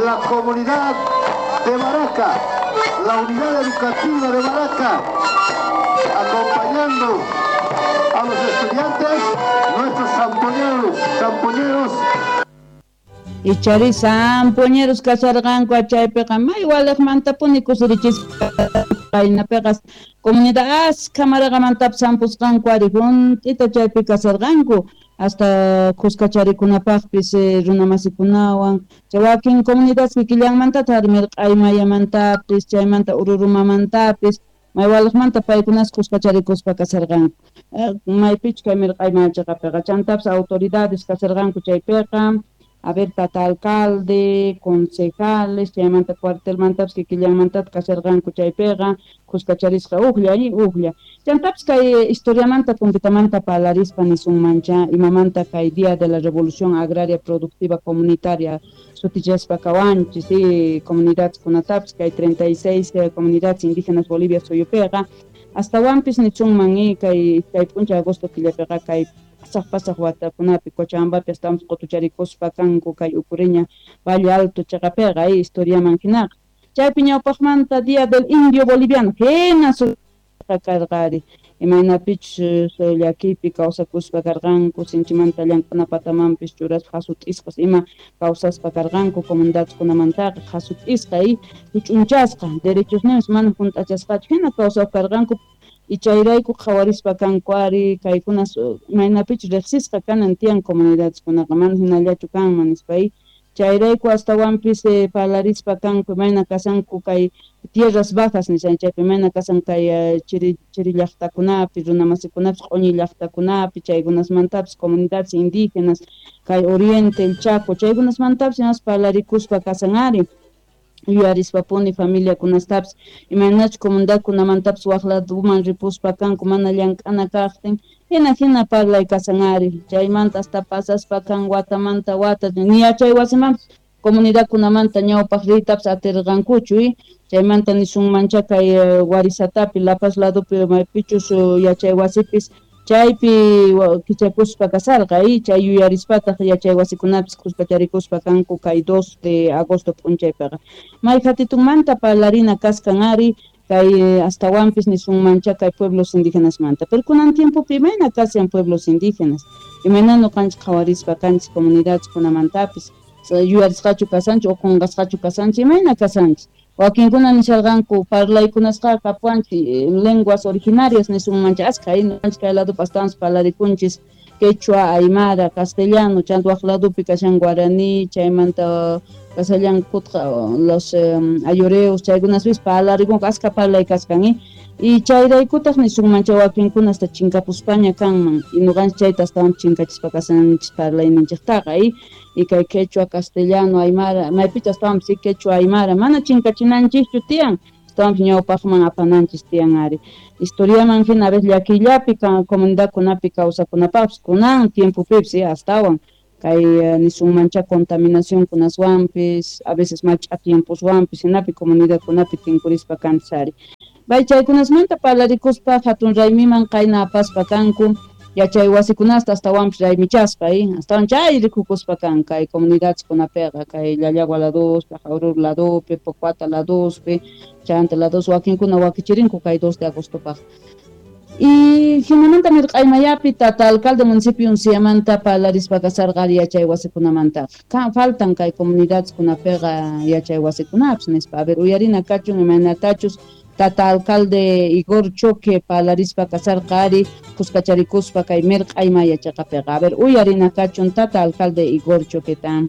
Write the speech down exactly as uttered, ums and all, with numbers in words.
La comunidad de Baraca, la unidad educativa de Baraca, acompañando a los estudiantes, nuestros zampoñeros, zampoñeros. Ichari zampoñeros kasarqanku chaypiqa may waliqmantapuni kusirichispa qaynapiqa comunidad askha maraqamantapis zampusqanku ari junt'ita chaypi kasarqanku hasta kuskacharikunapaqpis runamasikunawan chay wakin comunidades kikillanmantataq ari mirq'aymayamantapis chaymanta ururumamantapis may waliqmanta paykunas kuskacharikuspa kasarqanku maypichu kay mirq'aymaya chayqapiqa chantapis autoridades kasarqanku chaypiqa. A ver, tata alcalde, concejales, chaymanta cuartelmantapis kikillanmantata kasarqanku chaypiqa kuskacharisqa ujlla ujlla. Chantapis kay historiamanta kumpitamanta parlarispa nisunmancha imamanta kay Día de la Revolución Agraria Productiva Comunitaria sutichaspa kawanchis y comunidades kunatapis kay treinta y seis comunidades indígenas Bolivia suyupiqa astawanpis nisunman y kay kay p'unchay agosto killapiqa kay pasaq pasaq watakunapi Cochabambapi estamos qutucharikuspa kanku kay Ucureña Valle Alto chaqapiqa historiaman hinaqa chaypi ñawpaqmanta Día del Indio Boliviano hina sutqa karqari imaynapichus llakipi kawsakuspa karqanku sinchimanta llank'ana patamanpis churaspa hasut'isqas ima kawsaspa karqanku comunidadkunamantaqa hasut'isqa y huch'unchasqa derechosninpis mana hunt'achasqachu hina kawsaq karqanku y chayrayku qhawarispa kanku ari kaykunas imaynapichus riqsisqa kanan tiyan comunidadeskunaqa mana hinallachu kanman nispa chayrayku astawanpis parlarispa kanku imayna kasanku kay tierras bajas nishan chaypi imayna kasan kay chiri chiri llaqtakunapi runamasikunapis q'uñi llaqtakunapi chaykunasmantapis comunidades indígenas kay Oriente el Chaco chaykunasmantapis imas parlarikuspa kasan ari yuyarispapuni familiakunastapis imaynachus comunidadkunamantapis waq laduman ripuspa kanku mana llank'ana kaqtin hina hina parlay kasan ari chaymanta hasta pasaspa kan watamanta wata ni yachay wasimanpis comunidadkunamanta ñawpaq riytapis atirqankuchu chaymanta nisunmancha kay Warisatapi La Paz ladupi maypichus yachay wasipis chaypi kichakuspa kasarqa y chay yuyarispataq yachay wasikunapis kuskacharikuspa kanku kay dos de agosto p'unchaypiqa may hatitunmanta parlarina kaskan ari kay astawanpis nisunmancha kay pueblos indígenasmanta pero kunan tiempopi imayna kashan pueblos indígenas imayna ñuqanchik qhawarispa kanchik comunidadeskunamantapis yuyarisqachu kasanchik o qunqasqachu kasanchik imayna kasanchik wakinkuna nisharqanku parlaykunasqa kapuanchik lenguas originarias nisunmancha askha ñuqanchik kay ladupi astawanpis parlarikunchis quechua, aymara, castellano chanta waq ladupi kashan guaraní chaymanta kasallan kutqa los um, ayoreos chaykunaspis parlarikunku askha parlay kaskan y chayraykutaq nisunmancha wakinkuna hasta chinkapuspaña kanman y ñuqanchik chayta astawanpis chinkachispa kasanchis parlayninchiktaqa y y kay quechua, castellano, aymara maypicha astawanpis quechua, aymara mana chinkachinanchikchu tiyan astawanpis ñawpaqman apananchis tiyan ari historiaman hina a veces llakillapi comunidadkunapi kawsakunapaqpis kunan tiempopipis astawan kay nisunmancha contaminación kunaswanpis a veces mach'a tiemposwanpis hinapi comunidadkunapi tinkurispa kanchis ari bay chaykunasmanta parlarikuspa hatun raymiman qayna apaspa kanku yachay wasikunasta astawanpis raymichaspa astawan chay rikukuspa kan kay comunidadeskunapiqa kay Llallagua laduspi, Jaurur ladupi, Pocuata laduspi, chanta lados wakinkuna wakichirinku kay dos de agostopaq. Y hinamanta mirq'aymayapi tata alcalde municipio unsiyamanta parlarispa kasarqa ari yachay wasikunamantaqa faltan kay comunidadeskunapiqa yachay wasikunapis nispa a ver uyarina kachun imaynatachus tata alcalde Igor Choque parlarispa kasarqa ari kuskacharikuspa kay mirq'aymaya chaqapiqa a ver uyarina kachun tata alcalde Igor Choqueta.